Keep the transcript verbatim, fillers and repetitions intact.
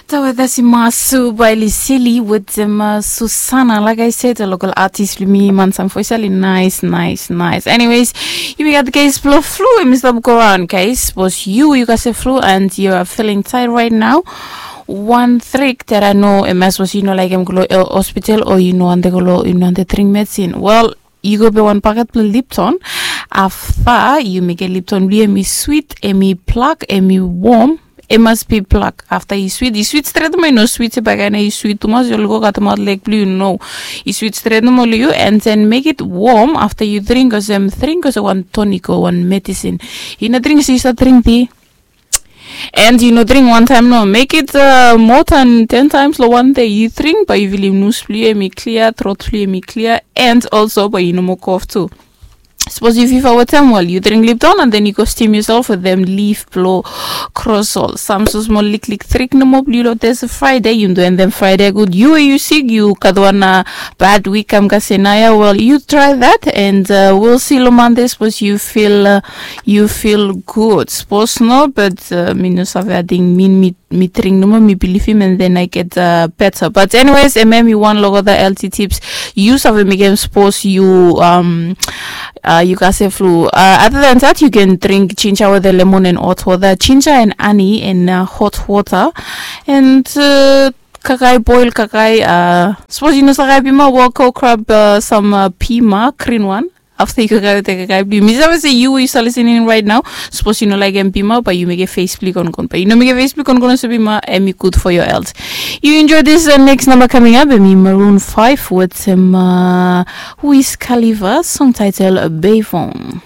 Tawa dasi masu bai li sili wetem uh, Susana. Like I said, a local artist bli mi mansam foi sali nice, nice, nice. Anyways, yumi gat kes blo flu em i stap go around, guys. Bos yu, yu gat se flu and you are feeling tired right now. One trick that I know, em as bos yu no like em go lo uh, hospital o yu no ante go lo, yu no ante drink medicine. Well, yu go be wan paket blo Lipton. Afta yu mekem Lipton bli em i sweet, em i plak, em i warm. Em mas be plak. Afta i sweet, i sweet stret mo i no sweet se bakaina i sweet tumas yu oli go katemaot lek bli yu no. I sweet stret mo oli yu and then make it warm afta yu drink olsem drink olsem wan tonic o wan medicine. I no drink se yu stap drink di. And yu no drink wan taim no, make it uh, more than ten times lo wan day. Yu drink bai yu vilim nus bli yu em i klia, trot bli yu em i klia, and also bai yu no mo kof tu. Sapos yu fifa wetem, well, yu drink Lipton and then yu go steam yourself wetem leaf blo krosol. Sam so smol liklik trik nomo bli yu lo tese Friday, yu do and then Friday gud. Yu we yu sik, yu gat wan uh, bad week kam kasinaia, well, yu try that and uh, we'll see lo Monday sapos yu feel uh, yu feel good. Sapos no, but uh, mi no save ating min mi mi drink nomo, mi bilivim and then I get uh, better. But anyways, em em i wan lo olgeta healthy tips. Yu save mekem sapos yu um, uh, yu gat se flu. Uh, other than that, you can drink ginger with the lemon and hot water. Ginger and honey and uh, hot water. And uh, kakai, boil kakai. Uh, sapos yu no save kakai pima, well, go grab uh, some uh, pima, green one. Afta yu kakae wetem kakae blu yu, mi save se yu we yu stap listening right now, sapos yu no laekem bima, bae yu mekem fes blu yu kongon. Bae yu no mekem fes blu yu kongon olsem bima, hemi gud for your health. Yu enjoy this uh, next number coming up, hemi Maroon five wetem uh, Wiz Khalifa, song title uh, Bevon.